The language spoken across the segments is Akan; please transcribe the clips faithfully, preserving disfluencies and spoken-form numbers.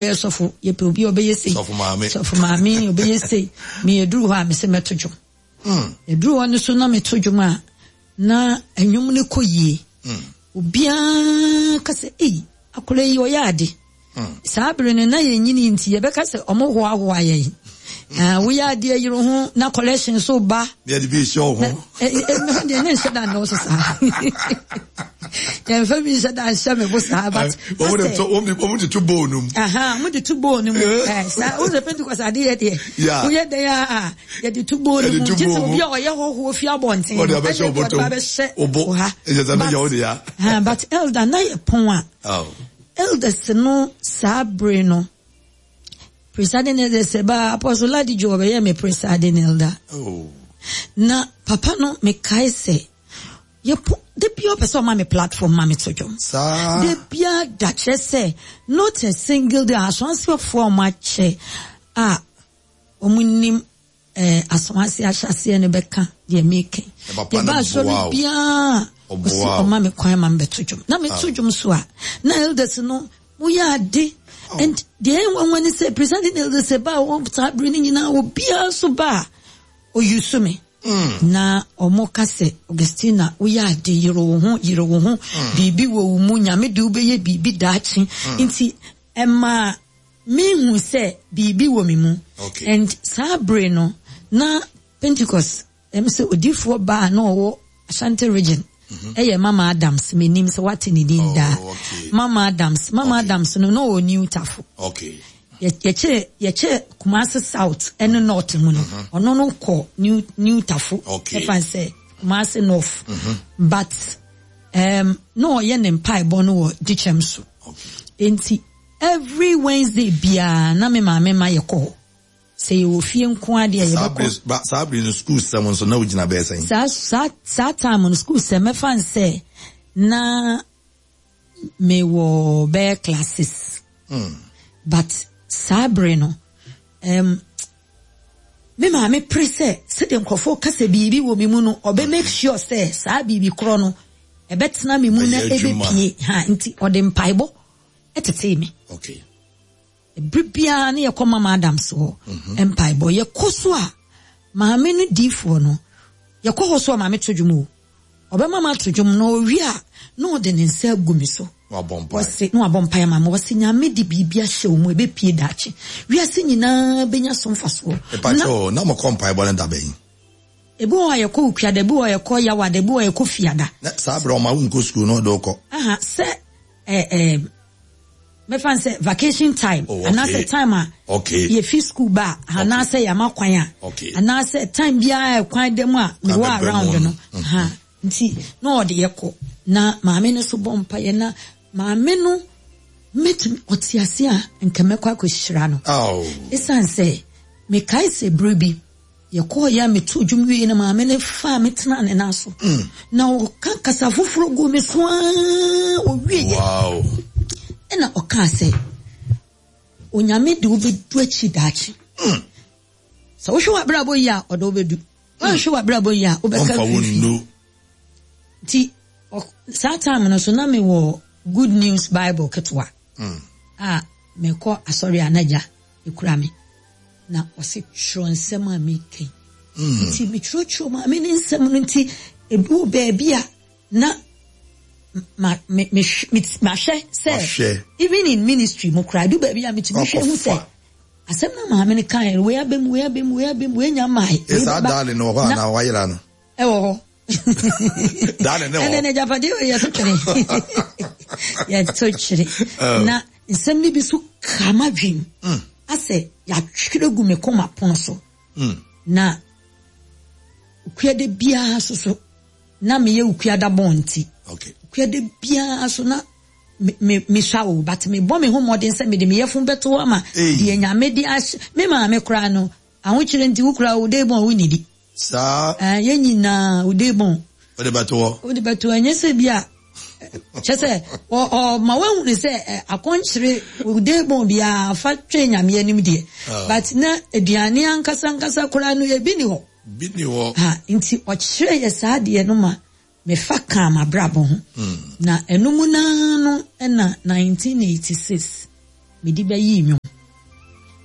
Ɔbɛyɛ sɔfo, yɛpɛ obi a ɔbɛyɛ sei. Sɔfo maame. Sɔfo maame, ɔbɛyɛ sei. Me yɛduru hɔ a, me sɛ mɛto dwom. Mm. Yɛduru hɔ no so na meto dwom a, na nnwom no kɔ yie. Mm. Obiara ka sɛ, ei, akwadaa yi ɔyɛ ade. Mm. Saa bere no na yɛnyini nti yɛbɛka sɛ ɔmo hoahoa yɛn. Ah, woyɛ adeɛ yere ho na collection so ba. Yɛde bi hyɛ wo ho. Ɛno deɛ ne nhyɛ da nnɔɔso saa. Yɛmfa bi nhyɛ da nhyɛ me bo saa, but Wɔn de to wɔn de wɔn de to bowl no mu. Aha, wɔn de to bowl no mu. Ɛɛ saa wɔn sɛ Pentecost ade yɛ deɛ. Yeah. Woyɛ dɛn a yɛde to bowl no Yɛde mu. to Gye sɛ bowl mu. obi a ɔyɛ hɔhoɔ fi abɔnten. Wɔde abɛhyɛ ɛna wo wɔde bɔtɔm. abɛhyɛ Wo bo. wo ha. Ɛkyɛ sɛ But- mɛyɛ wo de ya. Ah, but elder na yɛ pɔn a Oh. elders no saa bere no, presiding elder sɛ ba Apostle Ladijo, ɔbɛyɛ me presiding elder. Oh. Na papa no, mekae sɛ yɛpo de bia ɔpɛ sɛ ɔma me platform ma me to dwom. Saa. De bia da, kyerɛ sɛ not a single day. Asonsefoɔ a ɔmo akyɛ a ɔmo nim eh, Asonse ahyɛseɛ no bɛka deɛ meka. Na papa no Yɛba asɔre boa wo. biara, Ɔboa ɔsi wo. ɔma me kwan ma mebɛto dwom, na meto dwom so a, na elders no moyɛ ade. And deɛ ɛnwanwa ne sɛ presiding elders sɛ ba a wɔn saa bere no nyinaa, obiara nso ba a ɔyi me na ɔmo ka sɛ, "Augustina, woyɛ ade, yere wo ho, yere wo ho, biribi wɔ wo mu, Nyame de wobɛyɛ biribi daakye." Nti ɛma mehu sɛ biribi wɔ me mu. Okay. And saa bere no na Pentecost ɛm sɛ odiifoɔ baa na ɔwɔ Ashanti Region ɛyɛ Mama Adams. Menim sɛ wate ne din daa. Oh, okay. Mama Adams, Mama Okay. Adams no na ɔwɔ New Tafo. Okay. Yɛ- yɛkyɛ yɛkyɛ Kumasi South ɛne North mu no, ɔno no kɔ New New Tafo. Okay. Ɛfa sɛ Kumasi North, but um, na ɔyɛ ne mpaebɔ no wɔ Dikyɛm so. Okay. Nti every Wednesday biara na me maame ma yɛkɔ hɔ. Sɛ yɛwɔ fie nko adeɛ, Saa yɛbɛkɔ. bere ba saa bere no, school sɛm nso na wogyina bɛyɛ sɛn? saa saa saa time no, school sɛ mɛfa n sɛ na mewɔ bɛyɛ classes, Mm. but saa bere no um, me maame pere sɛ sɛdeɛ nkurɔfoɔ ka sɛ biribi wɔ me mu no, ɔbɛ make sure sɛ saa biribi korɔ no ɛbɛtena me mu na Ɛyɛ adwuma. ɛbɛpie ha, nti ɔde mpaebɔ ɛtetee me. Okay. Ebere biara ne yɛkɔ Mama Adams hɔ mpaebɔ. Yɛkɔ so a, maame no diifoɔ no, yɛkɔ hɔ so a, maame to dwom o, ɔbɛma ma ato dwom na ɔwie a, na ɔde ne nsa agu me so. Wabɔ mpae. Wɔse na wabɔ mpaeɛ ma me. Wɔse Nyame de biribi ahyɛ wo mu, ɛbɛpie daakye, wiase nyinaa bɛnya so mfasoɔ. Mepakyɛ o, na mokɔ mpaebɔ no da bɛn? Ebi wɔ hɔ a yɛkɔ Okuada, ebi wɔ hɔ a yɛkɔ Yawada, ebi wɔ hɔ a yɛkɔ Fiada. Na saa bere ɔma wo nkɔ school na ɔde wo kɔ? Aha, sɛ ɛɛ ɛɛ mɛfa n sɛ vacation time Oh, okay. anaasɛ time a Okay. yɛfi school ba a, anaasɛ yɛama kwan a, Okay. anaasɛ time biara kwan da mu a mewɔ bɛbrɛ around mu no. no. Ha nti na ɔde yɛkɔ na maame no so bɔ mpaeɛ, na maame no mɛtumi ɔte ase a, nka mɛkɔ akɔhyira no. Oh. Ɛsiane sɛ mekae sɛ berɛ bi yɛkɔɔ yɛ a, meto dwom wie no, maame no faa me tena ne nan so na ɔka kasa foforɔ gu me so aa, ɔwie yɛ Wow. ɛna ɔkaa sɛ, "Onyame de wobɛdu akyi daakye. Sɛ wohwɛ w'abrabɔ yi a, ɔde wobɛdu. Woanhwɛ w'abrabɔ yi a, wobɛka Ɔmfa wo fifi." nnu. Nti ɔ- saa time no so na mewɔ Good News Bible ketewa Mm. a mekɔ asɔre a n'agya ekura me, na ɔse twerɛ nsɛm a meka yi. Nti metwerɛtwerɛ maame ne nsɛm no, nti ebi wɔ baabi a na ma me me me mahwɛ sɛ Wahwɛ. even in ministry mu koraa, edu baabi a metumi hwɛ hu sɛ Wakɔfa. asɛm na maame no kan, wei abɛm, wei abɛm, wei abɛm, wei nya maae. Ɛ saa daale no wɔ hɔ anaa wayera no? Ɛwɔ hɔ. Daale ne wɔ Ɛnɛ hɔ. ne agyapadeɛ wɔ yɛto twere, yɛto twere. Oh. Na nsɛm no bi so ka m'adwene asɛ yɛatwerɛ gu me kɔma pono so. Mm. Na okuada biara so so na meyɛ okuada bɔn, nti Okay. okuada biara so na me me mesua o, but mebɔ me ho mmɔden sɛ mede me yɛfun bɛto hɔ ama Ei. deɛ Nyame de ahyɛ me maame koraa no. Ahokyerɛ nti wo koraa wo de bɔn wo nidi. Saa. Ɛɛ, yɛn nyinaa wo de bɔn Wode bɛto hɔ. Wode bɛto. Ɛnyɛ sɛ bi a kyɛ sɛ ɔ- ɔma woahunu sɛ ɛ, akɔnkyere wo de bɔn biara fa twɛn Nyame anim deɛ. Ah. But na aduane ankasa ankasa koraa no, ebi ni hɔ. Bi ni hɔ. Ha nti ɔkyerɛ yɛ saa adeɛ no ma mefa kaa m'abrabɔ ho. Na ɛno mu naa no ɛna nineteen eighty-six Mede bɛyi nnwom.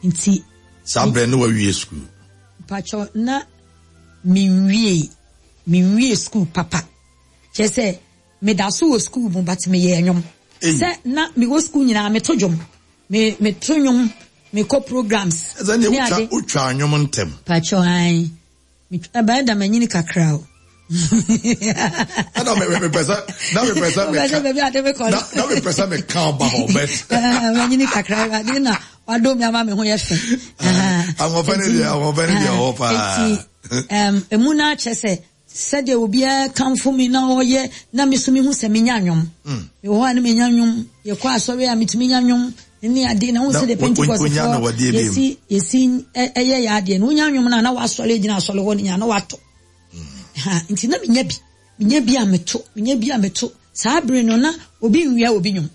Nti Saa berɛ ne wawie sukuu? Mpakyɛw, na menwie menwie sukuu papa. Kyerɛ sɛ meda so wɔ sukuu mu, but meyɛ nnwom. Sɛ na mewɔ sukuu nyinaa, meto dwom. Me meto nnwom, mekɔ programs. Ɛsɛ ne wotwa wotwa nnwom ntɛm. Mpakyɛw, ae. Ɛbɛyɛ da manyini kakra o. Ɛna mepɛ sɛ na mepɛ sɛ meka na mepɛ sɛ meka ɔba hɔ bɛt. Manyini kakra, Awurade na wadom me ama me ho yɛ fɛ. Ahoɔfɛ ne deɛ, ahoɔfɛ ne deɛ ɔwɔ paa. Nti emu no akyɛ sɛ sɛdeɛ obiara kamfo me na ɔyɛ na me so mehu sɛ menya nnwom. Mewɔ hɔ a na menya nnwom, yɛkɔ asɔre a metumi nya nnwom ne ade na wohu sɛ de Pentecostfoɔ yɛsi yɛsi ɛyɛ yɛ adeɛ no, wonya nnwom no a na wasɔre gyina asɔre hɔ no nyinaa na wato. Ha, nti na menya bi, menya bi a meto, menya bi a meto. Saa bere no na obi nwia obi nnwom.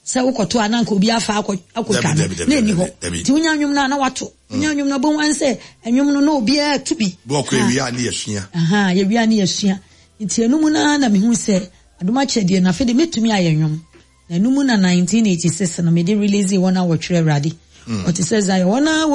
Sɛ wokɔto a na nka obi afa akɔ akɔtwa no, na ɛni hɔ. Nti wonya nnwom no a na wato. Wonya nnwom no bɛhu sɛ nnwom no na obiara to bi. Bɔkɔ ewia ne yɛsua. Aha, yɛwia ne yɛsua. Nti ɛno mu no na mehu sɛ adom akyɛdeɛ no afei de mɛtumi ayɛ nnwom. Na ɛno mu na nineteen eighty-six no mede release Wɔn a Wɔtwerɛ Awurade. Ɔte sɛ Zion, wɔn a